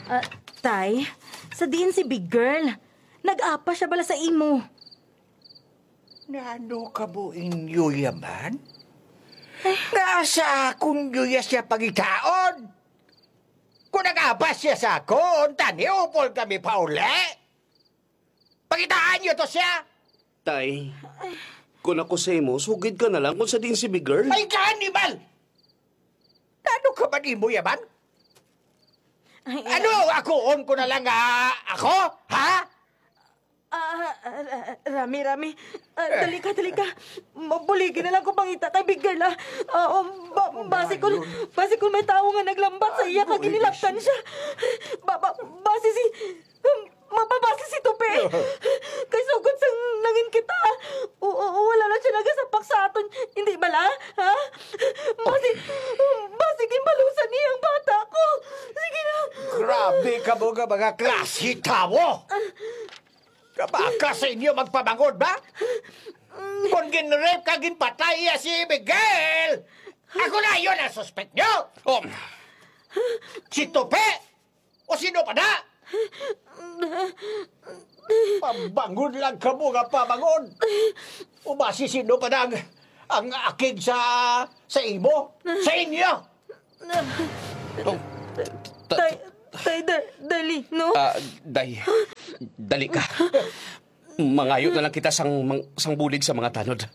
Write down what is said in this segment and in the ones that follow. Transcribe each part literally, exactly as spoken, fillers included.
Ah, Tay, sa diin si Big Girl? Nag-apa siya bala sa imo? Nano kamo inyo yaman? Nga sa akon niyo ya siya pangitaon? Kung nag-apa siya sa akon, tani upol kami pauli. Pangitaan niyo to siya. Tay, kung ako sa imo, sugid ka na lang kung sa diin si Big Girl. Ay, ka-animal! Ano ka ba nimo yaman? Ay, Ano, akuon ko na lang nga ako? Ha? Ah, ah, ah, Rami, Rami. Ah, dali ka, dali ka. Mabuligi na lang ko pangita kay Big Girl, ah. Ah, oh, ba, basi kun, basi kun may tawo nga naglambat sa iya kag ginilaptan siya. Ba, ba, basi si, um, mababasi si Tupi. Kay sugod sang nangin kita, o, o, wala na siya nagasapak sa aton. Hindi bala? Ha? Basi, basi ginbalusan niya ang bata ko. Sige na. Grabe kamo nga mga klase tawo! Kabaka sa inyo magpamangod ba? Kon ginrape ka, ginpatay iya si Miguel, ako na yon ang suspek nyo! Oh. Si Tupi? O sino pa na? Pabangod lang kamo nga pabangod. O ba si sino pa na ang, ang akig sa, sa imo? Sa inyo? Oh, ta- Tay, tay, da- dali, no? Ah, day, dali ka. Mangayo na lang kita sang mang- sang bulig sa mga tanod.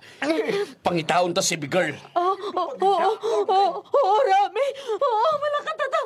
Pangitaon ta si Big Girl. Oh, oh, oh, oh, oh, oh, Rami. Oh, malakatata.